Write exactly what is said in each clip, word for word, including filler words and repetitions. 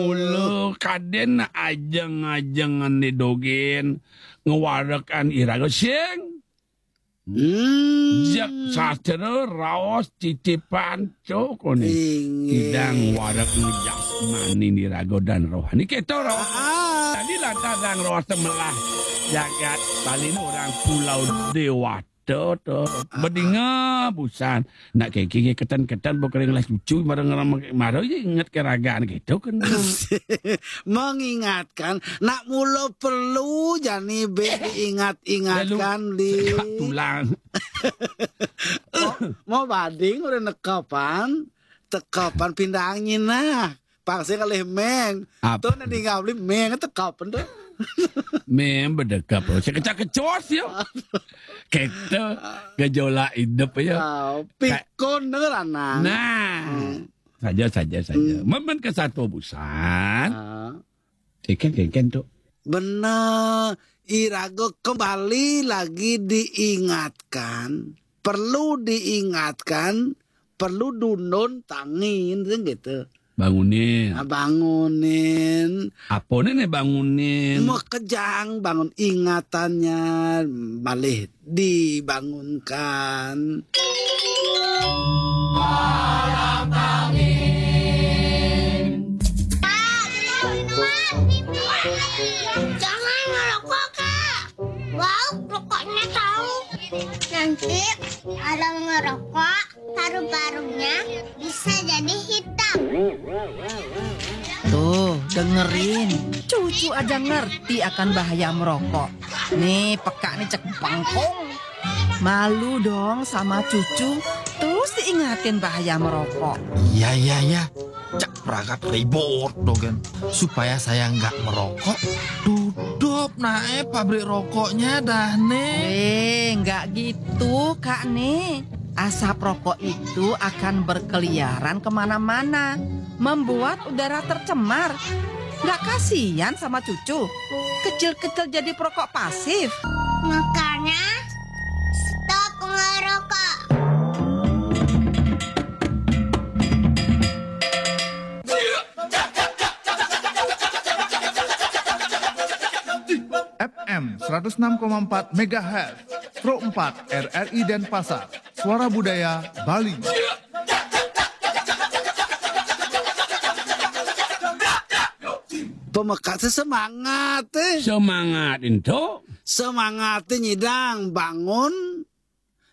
Mula kadén ajeng-ajengan né dogén ngwarekan iraga sing. Hmm. Jak sastra raos titipan cokoné. Inggih. Idang warek ngejasmani iraga dan rohani. Kéto, roh. Ah. Tadi lantaran roh semelah jagat Bali ini orang Pulau Dewata to. Ah. Bedinga busan. Nak kéké keten-keten bokring lah cucu marang mara ya inget ke ragaan gitu kan. Mengingatkan, nak mula perlu jani bé diingat-ingatkan. Lalu, di tulang. Mau, mau bading udah nekepan, tekepan pindah angin nah. Pang sing kalih méng. Apa? Tuh, nih, tinggal beli méng, tekap, tuh. Méng bedekap, loh. Sekecak-kecos, ya. Kita gejolak hidup, ya. Ah, pikun, denger, anak. Nah. Hmm. Saja, saja, saja. Hmm. Memen ke satu busan. Ah. Keken, keken, tuh. Bener. Iraga kembali lagi diingatkan. Perlu diingatkan, perlu dundun tangin, kan gitu. Bangunin. Nah, bangunin. Apa nih, nih bangunin? Makejang bangun ingatannya, malih dibangunkan. Kak, beli minuman. Jangan ngerokok, Kak. Bau rokoknya tahu. Nanti orang ngerokok, paru-parunya bisa jadi hitam. Tuh, dengerin. Cucu aja ngerti akan bahaya merokok. Nih, peka nih cek bangkong. Malu dong sama cucu. Terus diingatin bahaya merokok. Iya, iya, iya. Cek perangkat ribut dogen. Supaya saya nggak merokok, tutup nae pabrik rokoknya dah, nih. Eh, nggak gitu, Kak, nih. Asap rokok itu akan berkeliaran kemana-mana, membuat udara tercemar. Nggak kasihan sama cucu? Kecil-kecil jadi perokok pasif. Makanya, stop ngerokok. F M seratus enam koma empat megahertz, Pro empat R R I Denpasar, Suara Budaya Bali. Pemekak sesemangat, eh. Semangat, ento. Semangat, eh, nyidang bangun,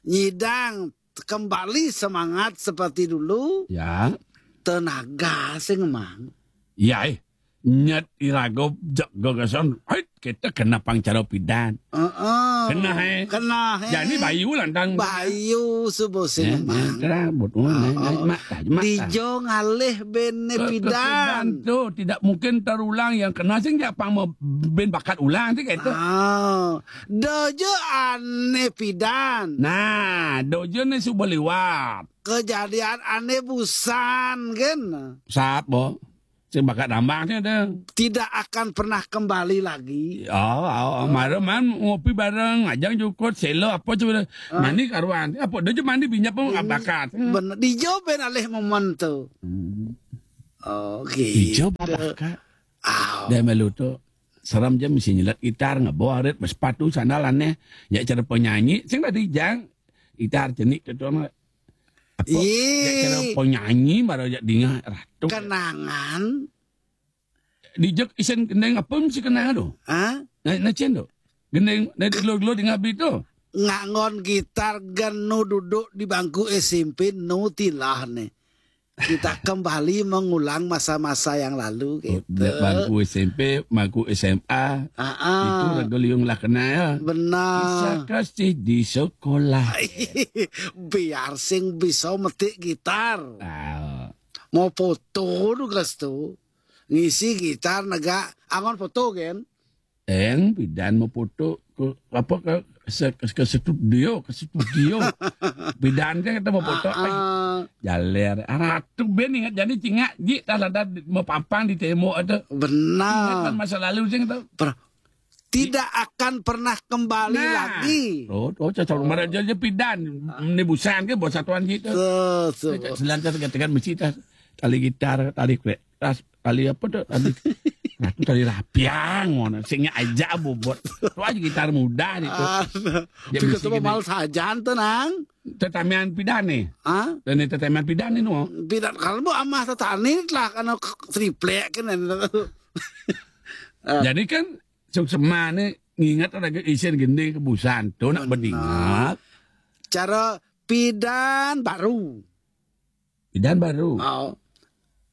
nyidang kembali semangat seperti dulu. Ya. Tenaga sing mang. Ya, eh. Nyet iraga jeg gagasan, hit, kita kena pangcara pidan. Heeh. Kena, eh. Kena, eh. Jadi bayu lantang. Bayu subuh sing mang. Terang, buat umum, eh, eh, mak, mak, mak. Dijo ngalih bene pidan. Pidan tuh tidak mungkin terulang yang kena sing jak pang mau ben bakat ulang sih kayak itu. Ah, dojo ane pidan. Nah, dojo ne suba liwat. Kejadian ane busan kan. Sap, Bo. Sing bakat nambang sih ada. Tidak akan pernah kembali lagi. Oh, oh, oh, mara man ngopi bareng, ajang jukut, selo apa coba. Ah. Mandi karuan. Apa dojo mandi binyap pun bakat. Bener, dijo ben alih momen tuh. Hmm. Oh, gitu. Dijo bakat. Aw. Dah malu tuh. Seram je mesti nyelat gitar, ngebawa arit, bersepatu, sandal aneh. Ya cara penyanyi, sing tadi jang. Gitar jenik tu tuan. Apa? Ih. Ya cara penyanyi, baru jak dingah, ratu. Kenangan. Dijak isen gendeng apa mesti kenangan tu? Hah? Nah, nah, cen tu. Gendeng, nah, gelo-gelo dingah bi tu. Ngangon gitar genu duduk di bangku S M P, nu tilah ni. Kita kembali mengulang masa-masa yang lalu, gitu. Bangku S M P, bangku S M A. Ah, ah. Itu raga liung lah kenal, ya. Benar. Kisah kasih di sekolah. Biar sing bisa metik gitar. Ah. Mau foto tu, Gas, tu. Ngisi gitar negak angon foto, kan? Eng, pidan mau foto ke apa, ke se-, ke, ke studio, ke studio. Pidan kan kita mau foto. Ah, ah. Jaler. Aratu ben ingat jadi cingak ji, tak ada mau pampang di tembok ada. Benar. Ingat kan masa lalu sing tu. Tidak akan pernah kembali lagi. Oh, oh, cocok marah je pidan. Ni busan ke bos satuan kita. Selancar tekan-tekan besi tas. Tali gitar, tali krek. Tas Ali apa tuh? Ali Ratu Tali Rapiang, ngono. Sing nya aja bobot. Tuh aja gitar muda itu. Ah, Ya, juga bisi coba gini. Mal sajan tuh, Nang. Tetamian pidan nih. Ah, Dan ini tetamian pidan ini mau. Pidan kalau mau amah tetani lah karena triplek kan. Jadi kan suksema nih nginget lagi isin gending kebusan tuh nak Benar. Bedingat. Cara pidan baru. Pidan baru. Oh.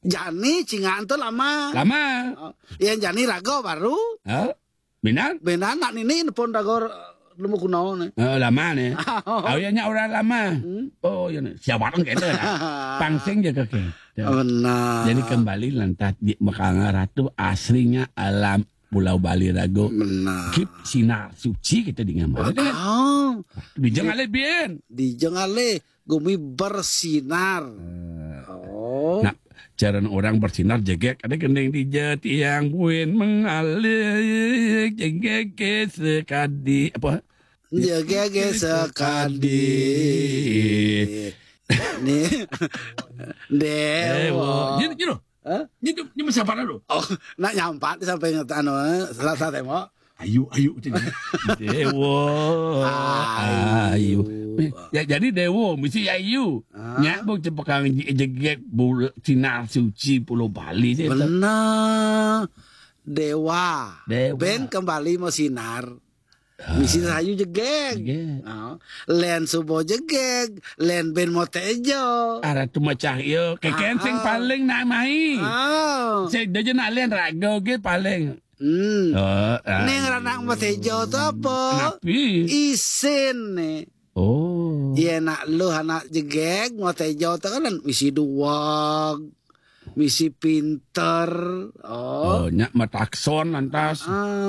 Jani cingaan tuh lama. Lama. Oh. Yang jani rago baru. Hah? Binan? Benar nak nini nepon rago eh, lemu kuno nih. Eh, lama nih. Awiannya orang lama. Hmm. Oh, iya nih. Siapa orang gitu lah. Pangsing jaga ke. Benar. Jadi kembali lantas di Mekanga Ratu aslinya alam Pulau Bali Rago. Benar. Keep sinar suci kita di ngambar. Oh, Dijeng ale bien. Dijeng ale gumi bersinar. Oh. Nah, cara orang bersinar jegek ada gending dija tiang buin mengalir jegek ke sekadi apa? Jegege sekadi. Nih. Dewa. Dewa. Gitu, gitu. Hah? Gitu, ini siapa lu? Oh, nak nyampat sampai nget anu eh, Selasa tembok. Ayu, ayu itu. Dewa. Ayu. Ayu. Ya jadi Dewa mesti ayu. Ah. Nyak bu cepekang jegek bul sinar suci Pulau Bali sih. Benar. Dewa. Dewa. Ben kembali mau sinar. Misi sayu jegeg. Jegeg. Oh. Len subo jegeg, len ben mau tejo. Arah tu macah yo. Keken sing Ah. Paling nak mai. Oh. Saya dah nak len rago ke paling. Hmm. Oh, ah. Neng ranak mau tejo tu apa? Napi? Isin nih. Oh. Iya nak lu anak jegeg mau tejo tu kan misi duwag, misi pinter. Oh. Oh, nyak matakson lantas. Ah.